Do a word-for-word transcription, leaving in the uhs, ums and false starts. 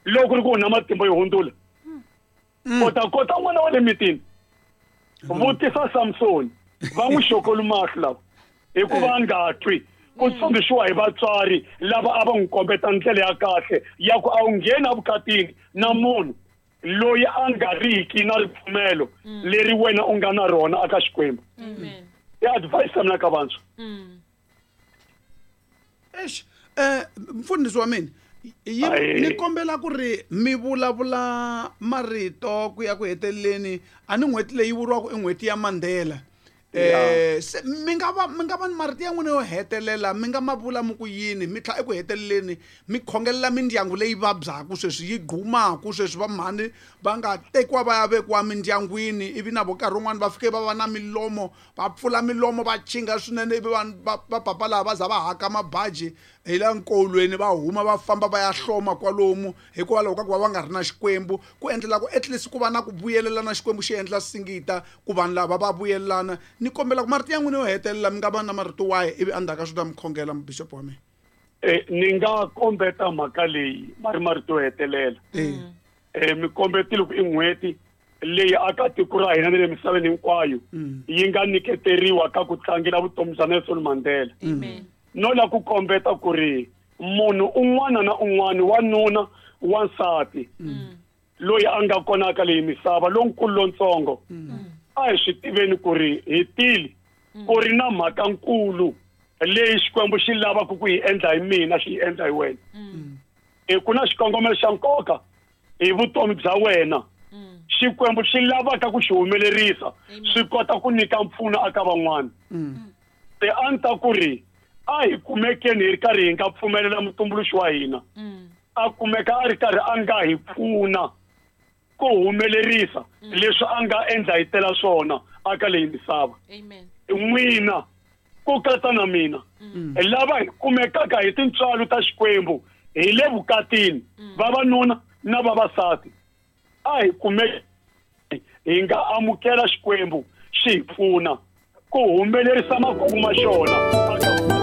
Loko ri ku na matimba yo hundzula. U ta kota n'wana wa le mitini. Vutisa Samson, va n'wi xokoli mahlo lava. Hikuva a nga twi ku tsundzuxiwa hi vatswari lava a va n'wi kombeta ndlela ya kahle ya ku a wu ngheni evukatini na munhu loyi a nga riki na ripfumelo leri wena u nga na rona aka Xikwembu. I advice ya mina ka vantshwa. Eish, eh mfundhisi wa mina yi ni kombela ku ri mi vulavula marito ku ya ku heteleleni a ni n'hweti leyi vuriwaka i n'hweti ya Mandela. Eh se mi nga va mi nga va ni marito ya n'wina yo hetelela mi nga ma vula mi ku yini mi tlha eku heteleleni mi khongelela mindyangu leyi vabyaka sweswi yi gumaka sweswi va mhani va nga tekiwa va ya vekiwa mindyangwini ivi na vo nkarhi wun'wani va fike va va na milomo va pfula milomo va chinga swinene ivi vanhu va va papa lava va za va haka mabaji hi la nkolweni va huma va famba va ya hloma kwalomu hikwalaho ka ku va va nga ri na Xikwembu ku endlela ku at least ku va na ku vuyelelana Xikwembu xi endla singita ku vanhu lava va vuyelelana. Ni kombela ku marito ya n'wina yo hetelela mi nga va na marito wahi ivi endzhaku ka swi ta mi khongela bishop wa mina. Eh ni nga kombeta mhaka leyi ma ri marito yo hetelela. Eh mi kombetile ku i n'hweti leyi aka tiko ra hina ni le misaveni hinkwayo yi nga nyiketeriwa ka ku tlangela vutomi bya Nelson Mandela. No la ku kombeta ku ri munhu un'wana na un'wana wanuna wansati loyi a nga kona ka leyi misava lonkulu lontsongo a hi swi tiveni ku ri hi tile ku ri na mhaka nkulu leyi Xikwembu xi lavaka ku yi endla hi mina xi yi endla hi wena. E ku na xikongomelo xa nkoka hi vutomi bya wena Xikwembu xi lavaka ku xi humelerisa swi kota ku nyika mpfuno aka van'wana. Se a ni ta ku ri a hi kumekeni hi ri karhi hi nga pfumelela mutumbuluxi wa hina a kumeka a ri karhi a nga hi pfuna ku humelerisa leswi a nga endla hi tela swona aka leyi misava. N'wina ku katsa na mina lava hi kumekaka hi tintswalo ta Xikwembu hi le vukatini vavanuna na vavasati a hi kumeki hi nga amukela Xikwembu xi hi pfuna ku humelerisa makungu ma xona.